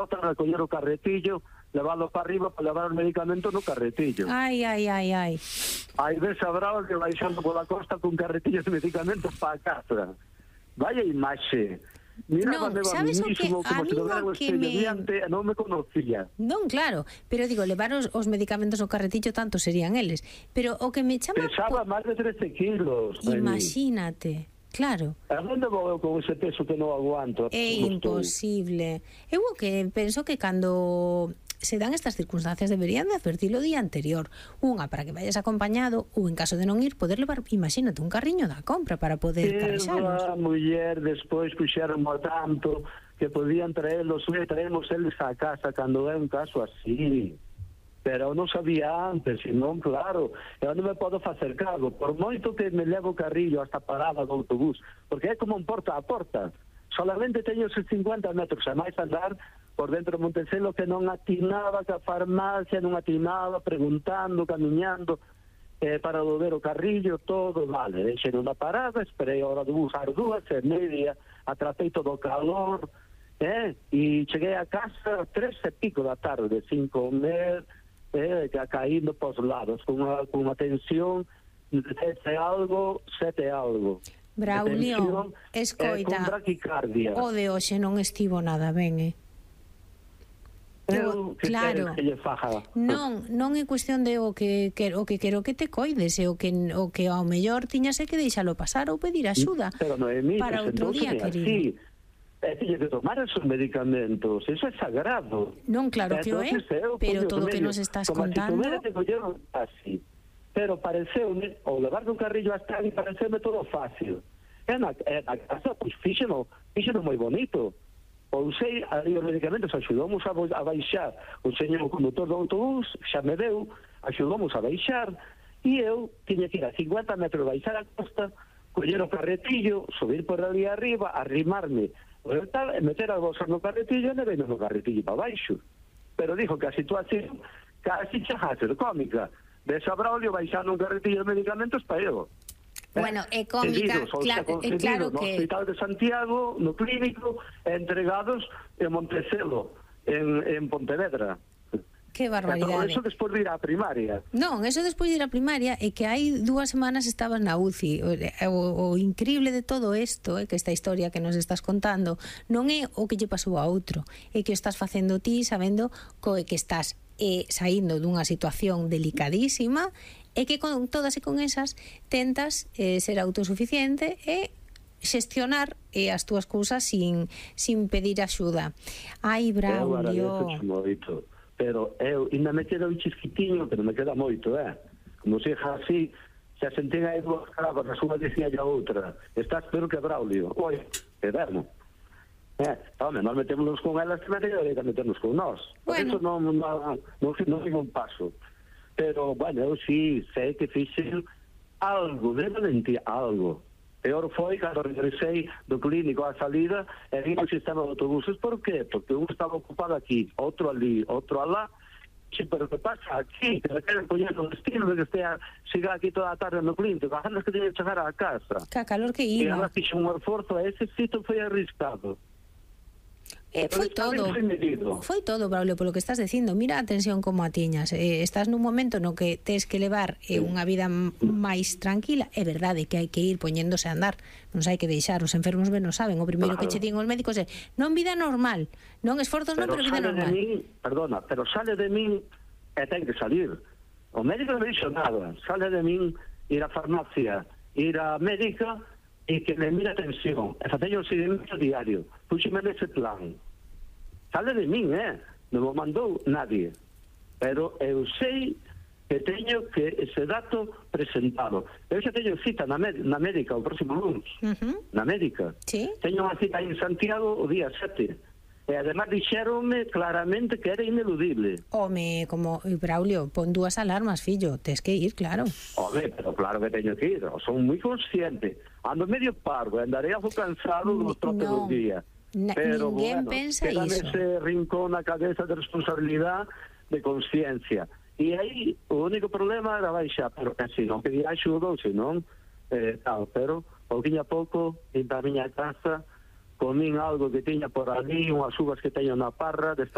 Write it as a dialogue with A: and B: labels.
A: a coller o carretillo, leválo para arriba para levar os medicamentos no carretillo.
B: Ai.
A: Aí ves a Bravo que baixando pola costa con carretillos de medicamentos para a casa. Vaya imaxe. Mira,
B: sabes o que
A: como
B: a
A: se
B: mí
A: lograra o espello diante, non me conocía.
B: Non, claro, pero digo, levar os medicamentos no carretillo tanto serían eles. Pero o que me chama...
A: Pesaba máis de 13 kilos.
B: Imagínate. Claro.
A: A onde vou con ese peso que non aguanto?
B: É imposible. Eu o que penso que cando se dan estas circunstancias deberían de advertilo o día anterior. Unha, para que vayas acompañado, ou en caso de non ir, poder levar, imagínate, un carriño da compra para poder carrexalos.
A: A muller despois puxeron tanto que podían traerlos eles a casa cando é un caso así. Pero eu non sabía antes, senón, claro, eu non me podo facer cargo, por moito que me levo o carrillo hasta parada do autobús, porque é como un porta a porta, solamente teño esos 50 metros, a máis andar por dentro de Montecelo que non atinaba que a farmacia, non atinaba, preguntando, camiñando, para volver o carrillo, todo, vale, deixei na parada, esperei a hora do bus, ás 2:30, atrapei todo o calor, e cheguei a casa 3:00 da tarde, sin comer, caindo para os lados, con unha tensión de 7 algo.
B: Braulio, escoita,
A: con braquicardia.
B: O de hoxe non estivo nada ben, claro, non é cuestión de o que quero que te coides, o que ao mellor tiñase que deixalo pasar ou pedir axuda para outro día, querido.
A: Tiñe que tomar esos medicamentos, eso é sagrado.
B: Non, claro que o é, pero todo o que nos estás contando...
A: así. Pero pareceume, o levar un carrillo hasta ali, pareceume todo fácil. E na casa, pois, fíxeno moi bonito. Ou sei, ali os medicamentos axudamos a baixar. O señor condutor do autobús xa me deu, axudamos a baixar, e eu tiña que ir a 50 metros baixar a costa, coller o carretillo, subir por ali arriba, arrimarme, meter as bolsas no carretillo e neveino no carretillo para baixo. Pero dijo que a situación casi chega a ser cómica. Ves a Braulio baixando un carretillo de medicamentos para eu.
B: Bueno, é cómica, claro
A: no
B: que...
A: Hospital de Santiago, no clínico, entregados en Montecelo, en Pontevedra.
B: Que barbaridade.
A: Eso despois de ir á primaria.
B: Non, eso despois de ir á primaria é que hai 2 semanas estabas na UCI. O increíble de todo isto é que esta historia que nos estás contando non é o que lle pasou a outro, é que o estás facendo ti sabendo que estás saindo dunha situación delicadísima e que con todas e con esas tentas ser autosuficiente e xestionar as túas cousas sin pedir axuda. Ai, Braulio,
A: pero eu ainda me queda un chisquitiño, pero me queda moito, como se xa así, xa sentén aí 2 carabas, a súa dicía a outra, estás peor que Braulio. Oi, que vermo. Nós metémonos con elas, que me teño que meternos con nós. Por eso non digo un paso. Pero, bueno, eu sí sei que fixen algo de valentía, algo. Peor foi cando regresei do clínico á salida e vim o sistema de autobuses. Por qué? Porque un estaba ocupado aquí, outro ali, outro alá. Pero que pasa aquí? Que me queren poñer no destino de que siga aquí toda a tarde no clínico, a ganas que teña que chegar á casa.
B: Que calor que iba.
A: E agora fixe un esforzo, ese sitio foi arriscado.
B: Foi todo, Braulio, polo que estás dicindo. Mira a tensión como a tiñas. Estás nun momento no que tes que levar unha vida máis tranquila. É verdade que hai que ir poñéndose a andar, non hai que deixar, os enfermos ben non saben. O primeiro que che din os médicos é non vida normal, non esforzos non, pero vida normal.
A: Pero sale de min e ten que salir. O médico non dixo nada. Sale de min ir á farmacia, ir á médica e que me mira a tensión, e facella o seguimento diario, puxeme nese plan. Sale de min, non me mandou nadie, pero eu sei que teño que ese dato presentado. Eu xa teño cita na médica o próximo lunes, na médica. Teño unha cita en Santiago o día 7. E además dixéronme claramente que era ineludible.
B: Home, como Braulio, pon 2 alarmas, fillo, tes que ir, claro.
A: Home, pero claro que teño que ir, son moi consciente. Ando medio parvo, andarei algo cansado dos trotes dos días. Pero
B: ninguén pensa
A: iso.
B: Ese
A: rincón na cabeza de responsabilidade, de conciencia. E aí o único problema era baixar, pero que se non pedía axuda ou se non, pero pouquinho a pouco, en a miña casa, comín algo que tiña por ali, unhas uvas que teño na parra,